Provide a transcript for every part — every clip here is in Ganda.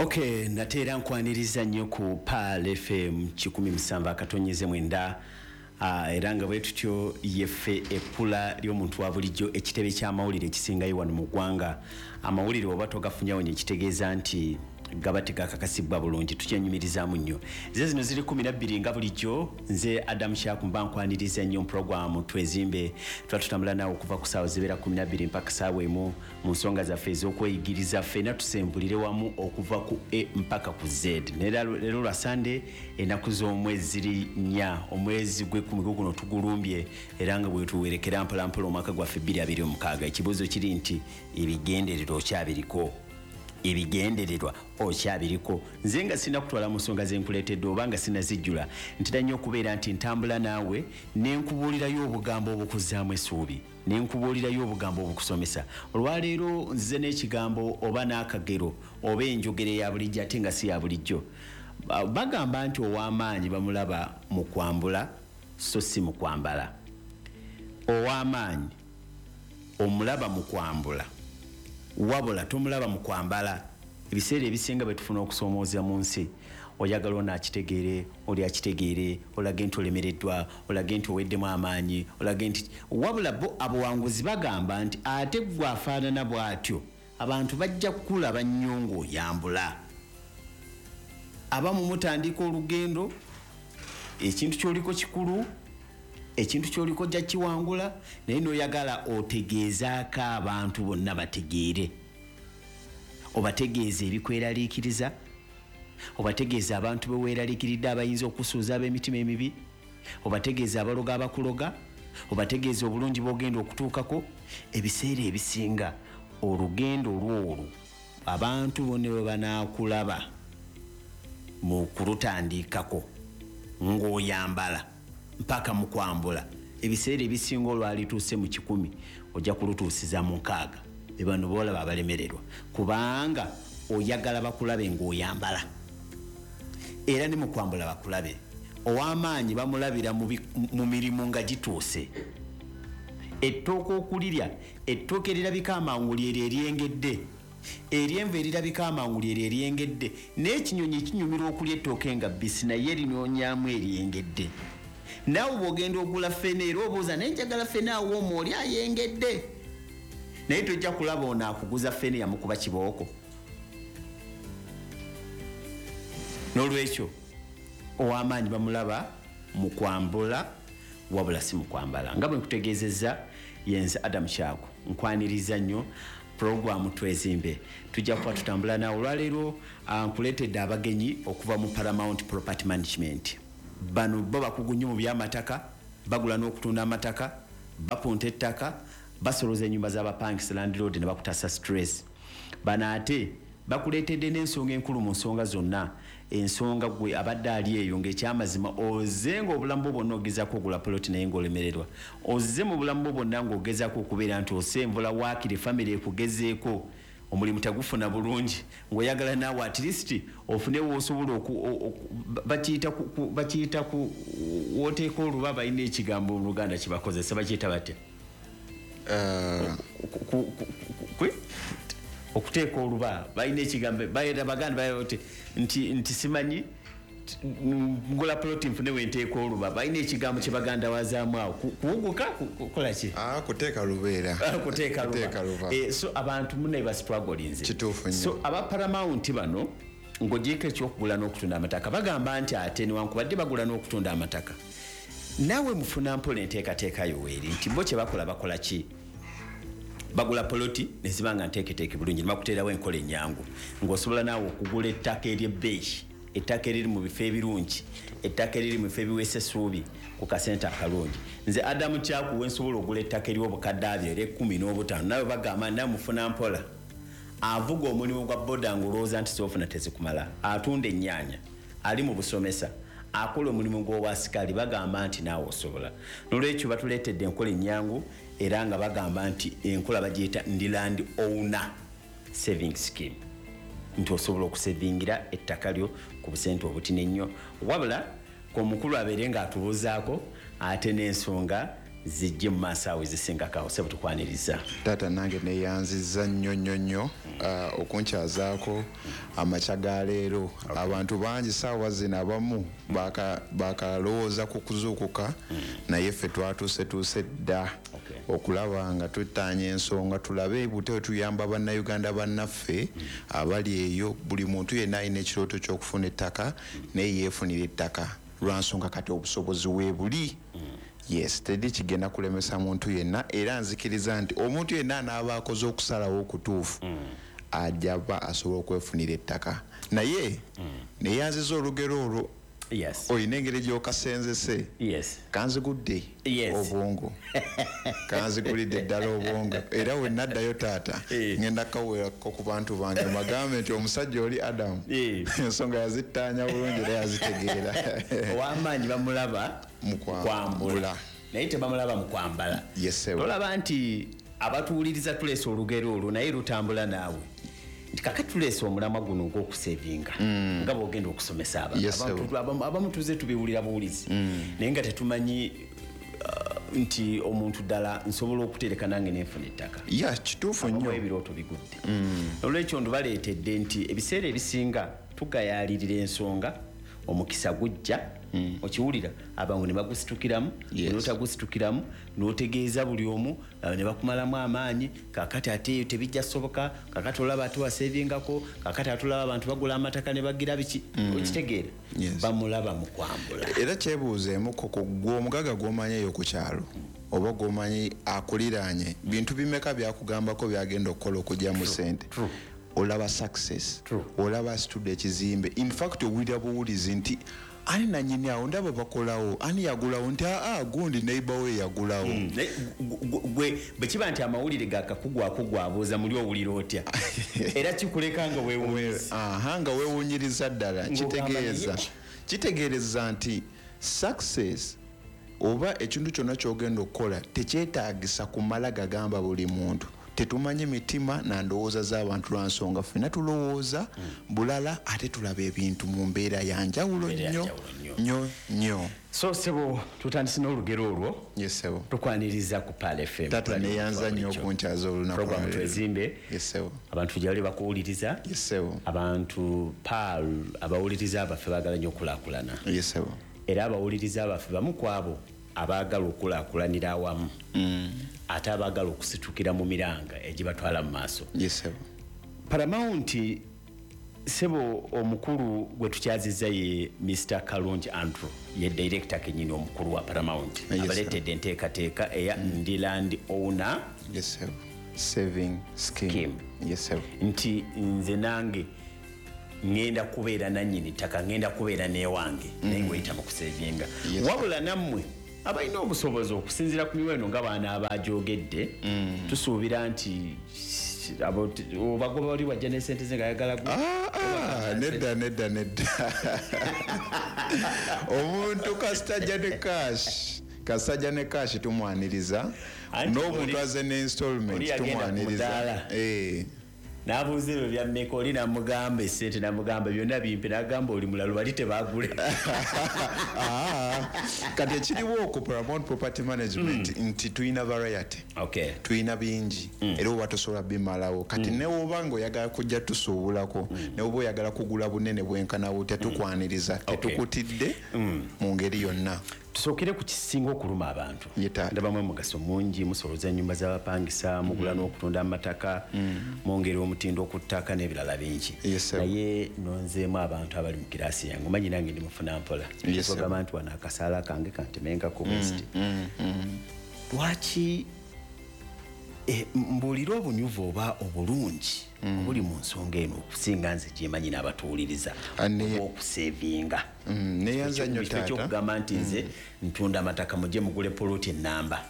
Okay, nate era nkwaniriza nnyo ku Pearl FM 107.9. Era nga bwe tutyo yeffe ekkula ly'omuntu wa bulijjo, ekitebe ky'amawulire ekisingayo wano mu ggwanga. Amawulire oba togafunyawo nye kitegeeza nti gaba tegakakasibwa bulungi, tukyenyumirizaamu nnyo. Ze zino ziri 12 nga bulijjo. Nze Adam Kyaku mba nkwaniriza nnyo mu puroguramu Twezimbe. Tuba tutambula naawe okuva ku ssaawa zibeera 12 mpaka ssaawa 1 mu nsonga zaffe ez'okweyigiriza, ffenna tusembulire wamu okuva ku A mpaka ku Z. Leero lwa Sande, ennaku z'omwezi ziri 4, omwezi gw'ekkumi guno tugulumbye, era nga bwe tuwerekera mpolampola omwaka gwaffe 2026. Ekibuuzo kiri nti ebigendererwa okyabiriko? Ebigendererwa okyabiriko? Nze nga sina kutwala mu nsonga ze nkuleetedde oba nga sinazijjula, ntera nnyo okubeera nti ntambula naawe ne nkubuulirayo obugambo obukuzzaamu essuubi, ne nkubuulirayo obugambo obukusomesa. Olwaleero nzize n'ekigambo oba n'akagero oba enjogera eya bulijjo ate nga si ya bulijjo. Bagamba nti ow'amaanyi bamulaba mu kwambula so si mu kwambala. Ow'amaanyi omulaba mu kwambula, wabula tomulaba mu kwambala. Ebiseera ebisinga bwe tufuna okusoomooza mu nsi, oyagala ono akitegeere, oli akitegeere, olage nti olemereddwa, olage nti oweddemu amaanyi, olage nti wabula bo abawanguzi bagamba nti ate ggwe afaanana bw'atyo, abantu bajja kukulaba nnyo ng'oyambula. Abamu mutandika olugendo, ekintu ky'oliko kikulu, ekintu ky'oliko ojja kiwangula, naye n'oyagala otegeezaako abantu bonna bategeere, obategeeza ebikweraliikiriza, obategeeza abantu be weeraliikiridde abayinza okusuuza ab'emitima emibi, obategeeza abaloga abakuloga, obategeeza obulungi bw'ogenda okutuukako. Ebiseera ebisinga olugendo lw'olwo abantu bonna bwe banaakulaba mu kulutandikako ng'oyambala mpaka mu kwambula, ebiseera ebisinga olwalituuse mu 100 ojja kulutuusiza mu 60. Bano boolaba abalemererwa kubanga oyagala bakulabe ng'oyambala, era ne mu kwambula bakulabe. Ow'amaanyi bamulabira mu mirimu nga gituuse. Ettooke okulirya, ettooke erirabika amangu lyeryo eryengedde, eryenvu erirabika amangu lyeryo eryengedde. N'ekinyonyi kinyumirwa okulya ettooke nga bbisi, naye linoonyaamu eryengedde. Naawe bw'ogenda ogula ffene era obuuza, naye njagala ffene awooma oli ayengedde, naye tojja kulaba ono akuguza ffene yamukuba kibooko. N'olwekyo ow'amaanyi bamulaba mu kwambula wabula si mu kwambala. Nga bwe nkutegeezezza, yenze Adam Kyaku, nkwaniriza nnyo puroguramu Twezimbe. Tujja kuba tutambula naawe olwaleero. Nkuleetedde abagenyi okuva mu Paramount Property Management. Bano bo bakugu nnyo mu by'amataka, bagula n'okutunda amataka, bapunta ettaka, basoloza ennyumba z'abapangisa, landlord, ne bakutasa stress. Bano ate bakuleetedde n'ensonga enkulu mu nsonga zonna, ensonga gwe abadde ali eyo ng'ekyamazima ozze ng'obulamu bwo bwonna ogezaako ogula poloti naye ng'olemererwa, ozze mu bulamu bwo bwonna ng'ogezaako okubeera nti osenvula waakiri famire ekugezeeko, omulimu tegufuna bulungi, ng'oyagala naawe at least ofune w'osobola bakiyita ku wooteeka oluba. Balina ekigambo mu Luganda kyebakozesa, bakiyita batya? Okuteeka oluba, balina ekigambo baganda nti simanyi ngula ploti nfune wenteeka oluba. Balina ekigambo kye baganda wazaamu awo, kuwuguka, kukola ki? Kuteeka lubeera. Kuteeka luba. So abantu mune bastrugglinze. Kituufu nnyo. So aba Paramount bano, ng'ogyeko ekyokugula n'okutunda amataka, bagamba nti ate newankubadde bagula n'okutunda amataka, naawe mufuna mpola enteekateeka yo weeri nti bo kye bakola, bakola ki? Bagula poloti neziba nga nteeketeeke bulungi, ne bakuteerawo enkola ennyangu ng'osobola naawe okugula ettaka ery'ebbeeyi, ettaka eriri mu bifo ebirungi, ettaka eriri mu bifo ebiweesa essuubi ku kasente akalungi. Nze Adamu Kyakuwe nsobola ogula ettaka ery'obukadde abyo era 15, nawe bagamba nawe mufuna mpola. Avuga omulimu gwa boda ng'olowooza nti soofuna tezikumala, atunda ennyaanya, ali mu busomesa, akola omulimu gw'obwasikaali, bagamba nti naawe osobola. Nolwekyo batuleetedde enkola ennyangu, era nga bagamba nti enkola bagiyita Ndi Land Owner Saving Scheme, nti osobola okusevingira ettaka lyo ku busente obutini ennyo. Wabula omukulu abeere ng'atubuuzaako ate n'ensonga zijje mu maaso awo ezisingako awo. Sebo, tukwaniriza. Taata, nange neyanziza nnyo nnyo nnyo. okunkyazaako amakya ga leero. Abantu bangi saawa zino abamu bakalowooza ku kuzuukuka, naye ffe twatuusetuuse dda okulaba nga tutaanya ensonga, tulabe bute tuyamba bannayuganda bannaffe abali eyo. Buli muntu yenna alina ekirooto ky'okufuna ettaka, naye yeefunira ettaka lwa nsonga kati obusobozi weebuli. Yes, teri kigenda kulemesa muntu yenna, era nzikiriza nti omuntu yenna anaaba akoze okusalawo okutuufu ajja ba asobola okwefunira ettaka. Naye neyanziza olugero olwo. Olina engeri gy'okasenzese. Kanzigudde obwongo, kanzigulidde ddala obwongo, era we naddayo taata ngenda kaweerako ku bantu bange bagambe nti omusajja oli Adamu ensonga yazittaanya bulungi era yazitegeera. Ow'amaanyi bamulaba mu kwambula, naye tebamulaba mu kwambala. Tolaba nti abatuwuliriza tuleese olugero olwo, naye lutambula naawe nti kakati tuleese omulamwa guno ogw'okusevinga nga bw'ogenda okusomesa abantu. Abamu tuze tubiwulira buwulizi, naye nga tetumanyi nti omuntu ddala nsobola okutereka nange nenfuna ettaka. Ya, kituufu nnyo. Ebirooto bigudde. Olwekyo ndubaleetedde nti ebiseera ebisinga tugayaalirira ensonga, omukisa gujja, okiwulira abangu ne bagusitukiramu, n'otagusitukiramu n'otegeeza buli omu ne bakumalamu amaanyi. Kakati ate tebijja soboka, kakati olaba ate wasevingako, kakati ate olaba abantu bagula amataka ne bagira biki, okitegeera bamulaba mu kwambula. Era kyebuuzeemuko ku gwe omugaga gw'omanyi eyo ku kyalo oba gw'omanyi akuliraanye, bintu bimeka byakugambako byagenda okukola okugyamu ssente? Olaba success, olaba asitudde ekizimbe, in fact owulira buwulizi nti ani nanyini awo, ndaba bakolawo, ani yagulawo, nti aa gundi neighbor we yagulawo. Gwe bwe kiba nti amawulire gakakugwako gwabuuza muli owulira otya? Era kikuleka nga weewuunyiriza. Aha, nga weewuunyiriza ddala. Kitegeereza nti success oba ekintu kyonna ky'ogenda okukola tekyetaagisa kumala gagamba buli muntu. Tetumanyi mitima na ndowooza z'abantu lwa nsonga ffenna tulowooza bulala, ate tulaba ebintu mu mbeera ya njawulo nnyo nnyo nnyo. So sebo, tutandise n'olugero olwo. Yes sebo. Tukwaniriza ku Pearl FM. Tata neyanza nnyo okunkyaza olunaku. Program Twezimbe. Yes sebo. Abantu gyali bakuwuliriza. Yes sebo. Abantu Pearl abawuliriza abaffe baagala nnyo okulaakulana. Yes sebo. Era abawuliriza abaffe bamu ku abo abaagala okulaakulanira awamu, ate abaagala okusitukira mu miranga egibatwala mu maaso. Yes sebo. Paramount sebo omukulu gwe tukyazizza ye Mr. Kalungi Andrew, ye director kenyini omukulu wa Paramount. Abaleetedde enteekateeka eya Ndi Land Owner. Yes sebo. Saving scheme. Yes sebo. Nti nze nange ngenda kubeera nannyini ttaka, ngenda kubeera n'ewange, naye ng'oyita mu kusevinga. Wabula nammwe abalina obusobozi okusinziira ku miwendo nga baana abagyogedde, tusuubira nti obagoba oli wajja n'essente ze ng'ayagala Nedda nedda nedda. Omuntu kasita ne cash tumwaniriza, n'omuntu aze ne installment tumwaniriza. N'abuuza ebyo bya mmeka, oli n'amugamba essente, n'amugamba byonna bimpe, n'agamba oli mulalu bali tebaagule. Kati ekiriwo ku Paramount Property Management nti tulina variety, tulina bingi, era oba tosobola bimalawo. Kati ne woba ng'oyagala kujja tusuubulako, ne woba oyagala kugula bunene bwenkana butya, tukwaniriza, tetukutidde mu ngeri yonna. Tusookere ku kisinga okuluma abantu. Ndabamu omugaso mungi, musoloza ennyumba z'abapangisa, mugula n'okutunda amataka, mwongera omutindo ku ttaka n'ebirala bingi. Naye nonzeemu abantu abali mu kiraasi yange, omanyi nange ndi mufuna mpola. Ogamba nti wano akasaala kange kantemenkako bwesti. Lwaki mbuulira obunyuvu oba obulungi obuli mu nsonga eno okusinga nze gyemanyi n'abatuwuliriza okusevinga? Neyanza nnyo taata. Ekyokugamba nti nze ntunda amataka mujje mugule poloti ennamba.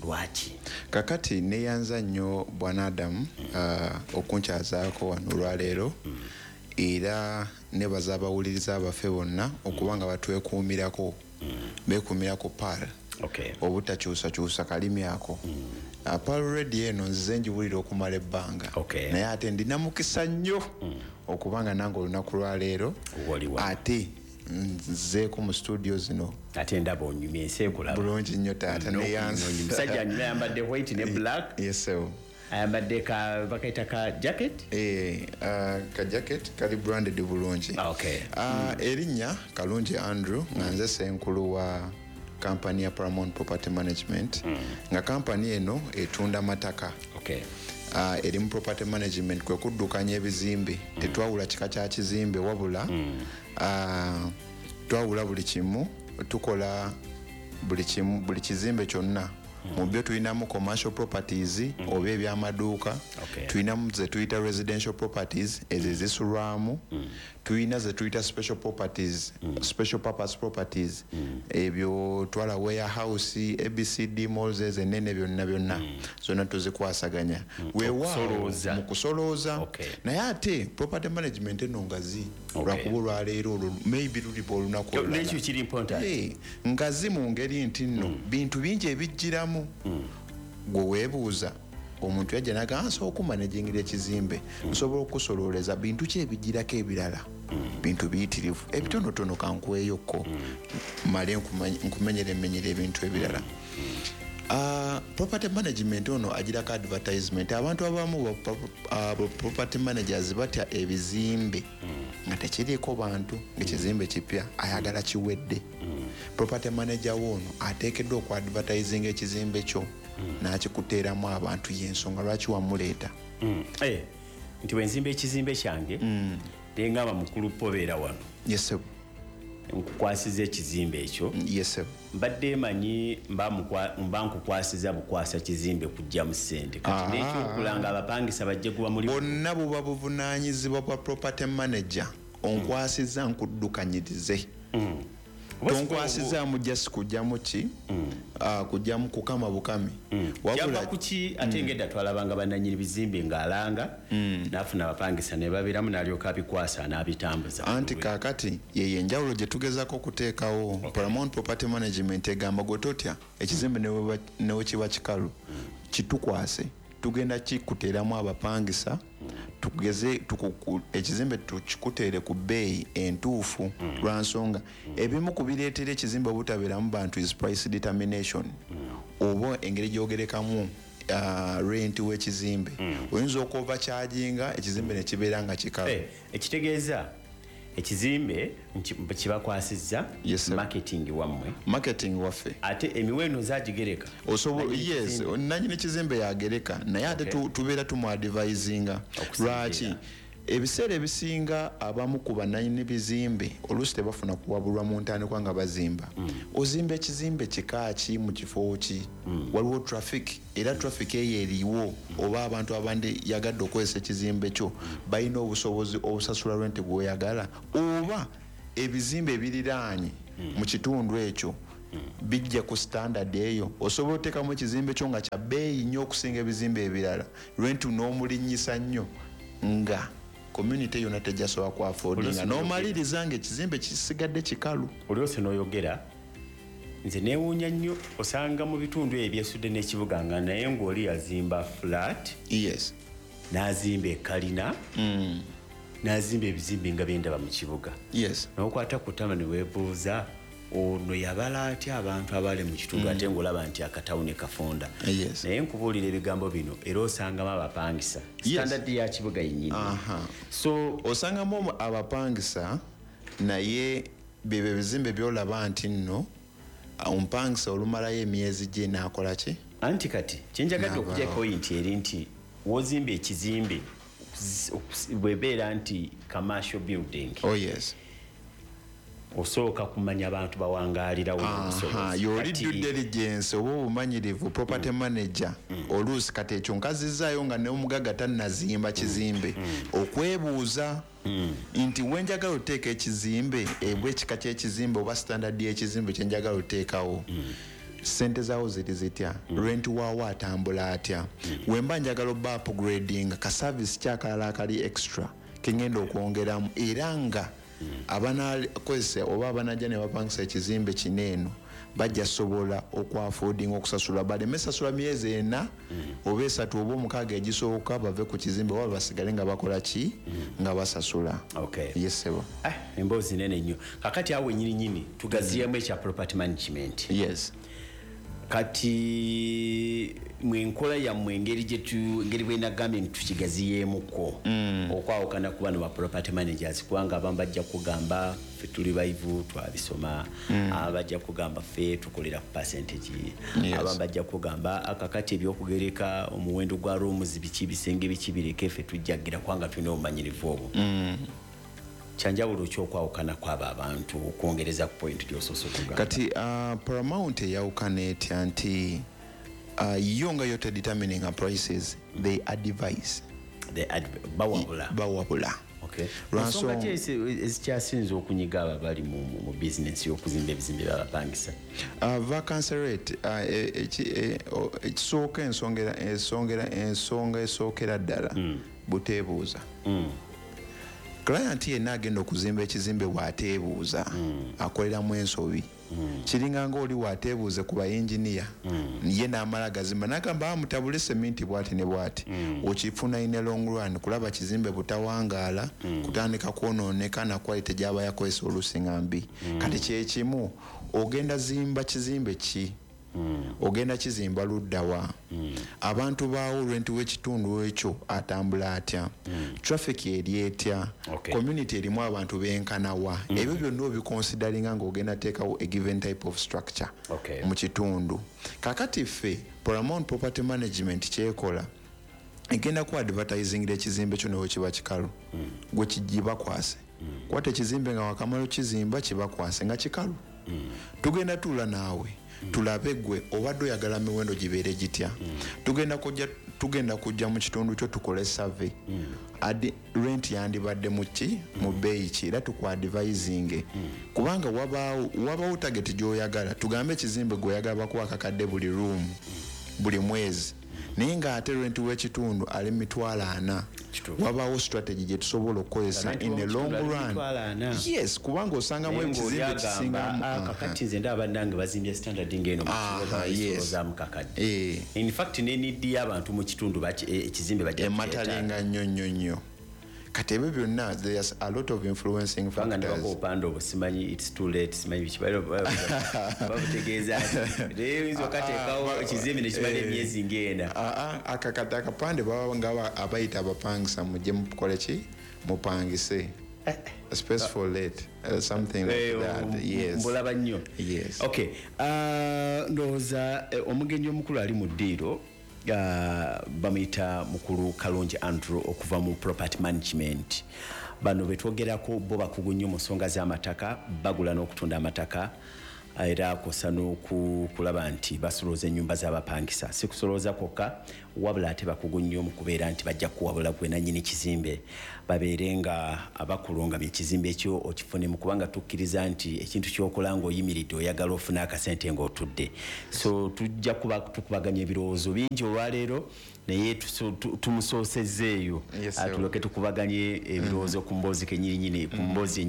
Lwaki? Kakati neyanza nnyo Bwana Adamu okunkyazaako wano olwaleero, era nebaza abawuliriza abaffe bonna okubanga batwekuumirako, beekuumirako Pearl. Obutakyusakyusa kalimi ako. Pearl Radio eno nzize njiwulira okumala ebbanga, naye ate ndina mukisa nnyo okubanga nange olunaku lwaleero ate nzeeko mu studio zino. Ate ndaba onyumye ensi ekulaba bulungi nnyo taata. Neyanza musajja anyumye, ayambadde white ne black. Yes sebo. Ayambadde ka bakayita ka jacket. Ka jacket kali branded bulungi. Erinnya Kalungi Andrew, nga nze ssenkulu wa kampani ya Paramount Property Management, nga kampani eno etunda mataka. Eri mu property management, kwe kuddukanya ebizimbe. Tetwawula kika kya kizimbe, wabula twawula buli kimu, tukola buli kimu, buli kizimbe kyonna. Mu byo tulinamu commercial properties oba ebyamaduuka, tulinamu ze tuyita residential properties, ezo ezisulwamu, tulina ze tuyita special properties, special purpose properties, ebyo twala warehouse, ABCD malls, ezo enene byonna byonna, zonna tuzikwasaganya. Weewaawo Okusolooza. mu kusolooza. Naye ate property management eno ngazi, lwakuba olwaleero olwo maybe luliba olunaku olulala. Nekyo kiri important. Ngazi mu ngeri nti nno bintu bingi ebijjiramu. Gwe weebuuza omuntu yajja nagamba nsobola okumanagingira ekizimbe, nsobola okusololeza bintu ki ebijjirako ebirala, bintu biyitirivu ebitonotono kankweyokko male nkumenyeremenyere ebintu ebirala. Property management ono agirako advertisement. Abantu abamu ba property managers batya ebizimbe nga tekiriiko bantu, ng'ekizimbe kipya ayagala kiwedde. Property manager woono ateekeddwa okuadvertisinga ekizimbe kyo n'akikuteeramu abantu, y'ensonga lwaki wamuleeta. Nti bwe nzimba ekizimbe kyange nengamba mukulu pobeera wano, Yes, sir. nkukwasiza ekizimbe ekyo. Yes, sir. Mbadde manyi mba nkukwasiza bukwasa kizimbe kujja mu ssente, kati n'ekyokulanga abapangisa bajje kuba muli Bonna buba buvunaanyizibwa bwa property manager. Onkwasiza nkuddukanyirize, tonkwasizaamu just kujjamu ki, kujjamu kukama bukami. Kyava Wabula kuki ate ngedda twalabanga bannannyini bizimbe ng'alanga n'afuna abapangisa ne babeeramu n'alyoka abikwasa n'abitambuza. Anti kaakati yeyo enjawulo gye tugezaako okuteekawo. Paramount Property Management egamba gwe totya ekizimbe ne kiba kikalu, kitukwase, tugenda kikuteeramu abapangisa, tugeze ekizimbe tukikuteere ku bbeeyi entuufu, lwa nsonga ebimu ku bireetera ekizimbe obutabeeramu bantu is price determination, oba engeri gy'ogerekamu rent w'ekizimbe. Oyinza okuovercharginga ekizimbe ne kibeera nga kikalu. Ekitegeeza ekizimbe kibakwasizza Yes, sir. marketing wammwe. Marketing waffe. Ate emiwendo zagigereka. Nannyini Yes, kizimbe. nannyini kizimbe yagereka, naye ate tubeera tumuadvisinga. Okusinziira. Lwaki ebiseera ebisinga abamu ku bannannyini bizimbe oluusi tebafuna kuwabulwa mu ntandikwa nga bazimba? Ozimba ekizimbe kika ki, mu kifo ki? Waliwo traffic, era traffic eyo eriwo, oba abantu abandi yagadde okukozesa ekizimbe kyo balina obusobozi obusasula rent bw'oyagala, oba ebizimbe ebiriraanye mu kitundu ekyo bijja ku standard eyo? Osobola oteekamu ekizimbe kyo nga kya bbeeyi nnyo okusinga ebizimbe ebirala, rent n'omulinnyisa nnyo nga community yonna tejjasobola kuaffordinga, Oluusi n'omaliriza nga ekizimbe kisigadde kikalu. Oluusi n'oyogera nze neewuunya nnyo, osanga mu bitundu ebyo ebyesudde n'ekibuga nga naye ng'oli yazimba flat, n'azimba ekalina, n'azimba ebizimbe nga byendaba mu kibuga, n'okwata ku ttama ne weebuuza ono yabala atya abantu abali mu kitundu, ate ng'olaba nti akatawuni kafunda. Naye nkubuulira ebigambo bino, era osangamu abapangisa standard ya kibuga yennyini. So Osangamu abapangisa, naye byebyo ebizimbe byolaba nti nno omupangisa olumalayo emyezi gye n'akola ki? Anti kati kyenjagadde N'avaawo. okujja point eri nti wozimba ekizimbe bwebeera nti commercial building, Oh yes. osooka kumanya abantu bawangaalirawo n'obusobozi. Yoli due diligence oba obumanyirivu property manager oluusi kati ekyo nkazizaayo nga n'omugagga tannazimba kizimbe, okwebuuza nti wenjagala oteeka ekizimbe, ebwa ekika ky'ekizimbe oba standard y'ekizimbe kyenjagala oteekawo, sente zaawo ziri zitya, rent waawo atambula atya, wemba njagala oba upgrading ka service kyakalala akali extra kengenda okwongeramu, era nga abanakozesa oba abanajja ne bapangisa ekizimbe kino eno bajja sobola okuaffordinga okusasula, baleme sasula myezi 4 oba 3 oba 6 egisooka bave ku kizimbe oba basigale nga bakola ki, nga basasula. Yes, sebo. Emboozi nene nnyo. Kakati awo nyini nyini tugaziyemu ekya property management. Kati Mwenkola yammwe, engeri engeri bwenagambye nti tukigaziyeemuko okwawukana ku bano ba property managers, kubanga abamu bajja kugamba, "Ffe tuli bayivu, twabisoma." Abamu bajja kugamba, "Ffe tukolera ku percentage." Abamu bajja kugamba, "Akakati ebyokugereka omuwendo gwa rooms biki, bisenge biki, bireke, ffe tujjagira kubanga tulina obumanyirivu obwo." Kyanjawulo kyokwawukana kwabo abantu, okwongereza ku point gyosoose okugamba? Kati Paramount eyawukana etya? Nti yo nga yo tedetermining prices, they advise. Bawabula. Bawabula. Ensonga ki ezikyasinze okunyiga abo abali mu bizinensi y'okuzimba ebizimbe byabapangisa? Vacancy rate. Ekisooka, ensonga esookera ddala, buteebuuza. Client yenna agenda okuzimba ekizimbe bw'ateebuuza, akoleramu ensobi. Kiringa nga oli bw'ateebuuze ku bayinginiya, ye n'amala gazimba n'agamba, "Ah, mutabule seminti bw'ati ne bw'ati." Okifuna in a long run kulaba kizimbe butawangaala, kutandika kwonooneka na quality gy'aba yakozesa oluusi nga mbi. Kati kyekimu, ogenda zimba kizimbe ki? Ogenda kizimba luddawa? Abantu baawo, rent w'ekitundu ekyo atambula atya? Traffic eri etya? Community erimu abantu benkanawa? Ebyo byonna obiconsideringa ng'ogenda teekawo a given type of structure mu kitundu. Kakati ffe Paramount Property Management kyekola, egenda ku advertisingira ekizimbe kyo newe kiba kikalu, gwe kigibakwase. Kwata ekizimbe nga wakamala okizimba, kibakwase nga kikalu. Tugenda tuula naawe, tulabe gwe obadde oyagala miwendo gibeere gitya. Tugenda kujja mu kitundu kyo, tukole survey. Adi rent yandibadde mu ki, mu bbeeyi ki, era tukuadvisinge, kubanga wabaawo target gy'oyagala. Tugambe ekizimbe gweoyagala bakuwa akakadde buli room buli mwezi, naye ng'ate rent w'ekitundu ali 40,000. Wabaawo strategy gye tusobola okukozesa in the long run. Yes, kubanga osangamu ekizimbe kisingamu. "Ah, kakati nze ndaba bannange bazimbye standard ng'eno mu kakadde." In fact, ne need y'abantu mu kitundu, ekizimbe bajja Ematalinga nnyo nnyo nnyo. Kati ebyo byonna, there's a lot of influencing factors. Obupande obwo, simanyi "It's too late", simanyi biki, babutegeeza naye oyinza okateekawo ekizimbe nekimala emyezi ng'ena. Akakati akapande baba nga abayita abapangisa, "Mujje mukole ki, mupangise, space for let," something like that, yes. Mbulaba nnyo. Yes. Okay, ndowooza omugenyi omukulu ali mu ddiiro bamuyita mukulu Kalungi Andrew okuva mu Property Management. Bano betwogerako bo bakugu nnyo mu nsonga z'amataka, bagula n'okutunda amataka, era kwosa n'okulaba nti basolooza ennyumba z'abapangisa. Si kusolooza kwokka, wabula ate bakugu nnyo mu kubeera nti bajja kuwabula gwe nannyini kizimbe, babeere nga abakulungamya ekizimbe ekyo okifunemu, kubanga tukkiriza nti ekintu kyokola ng'oyimiridde, oyagala ofune akasente ng'otudde. So tujja kuba tukubaganya ebirowoozo bingi olwaleero, naye tumusoosezzeeyo, Yes, sir. tulyoke tukubaganye ebirowoozo ku mboozi kenyininyini, ku mboozi.